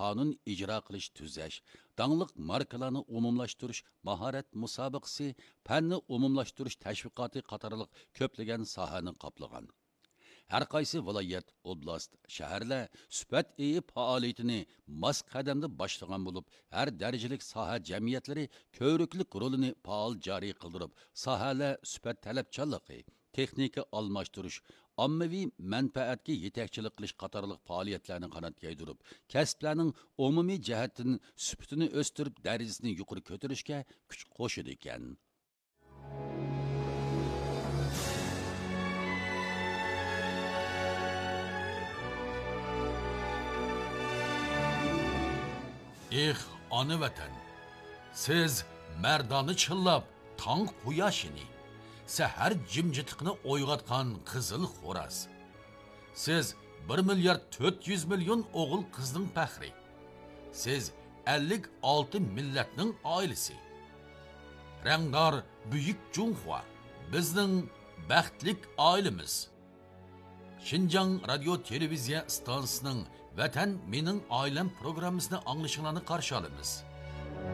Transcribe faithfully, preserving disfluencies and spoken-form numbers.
قانۇن ئىجرا قىلىش تۈزەش، داڭلىق ماركىلارنى ئومۇملاشتۇرۇش ماھارەت مۇسابىقىسى، پەننى ئومۇملاشتۇرۇش تەشۋىقاتى قاتارلىق كۆپلىگەن ساھەنى قاپلىغان. ھەر قايسى ۋىلايەت، ئوبلاست، شەھەرلەر سۈپەت ئېيى پائالىيىتىنى ماس قەدەمدە باشلىغان بولۇپ، ھەر دەرىجىلىك ساھە جەمئىيەتلىرى كۆۋرۈكلۈك رولىنى پائال جارى قىلدۇرۇپ، ساھەلەر سۈپەت تەلەپچانلىقى، تېخنىكا ئالماشتۇرۇش، ئاممىۋى مەنپەئەتكە يېتەكچىلىك قىلىش قاتارلىق پائالىيەتلەرنى قانات يايدۇرۇپ، كەسىپلەرنىڭ ئومۇمىي جەھەتتىن سۈپىتىنى ئۆستۈرۈپ، دەرىجىسىنى يۇقىرى كۆتۈرۈشكە كۈچ قوشىدىكەن. ئېھ، ئانا ۋەتەن! سىز مەردانە چىللاپ تاڭ قۇياشىنى، سەھەر جىمجىتلىقىنى ئويغاتقان قىزىل خوراز. سىز بىر مىليارد تۆت يۈز مىليون ئوغۇل-قىزنىڭ پەخرى. سىز ئەللىك ئالتە مىللەتنىڭ ئائىلىسى. رەڭدار بۈيۈك جۇڭخۇا، بىزنىڭ بەختلىك ئائىلىمىز. شىنجاڭ رادىيو تېلېۋىزىيە ئىستانسىسىنىڭ ۋەتەن مېنىڭ ئائىلەم پروگراممىسىنى ئاڭلىشىڭلارنى قارشى ئالىمىز.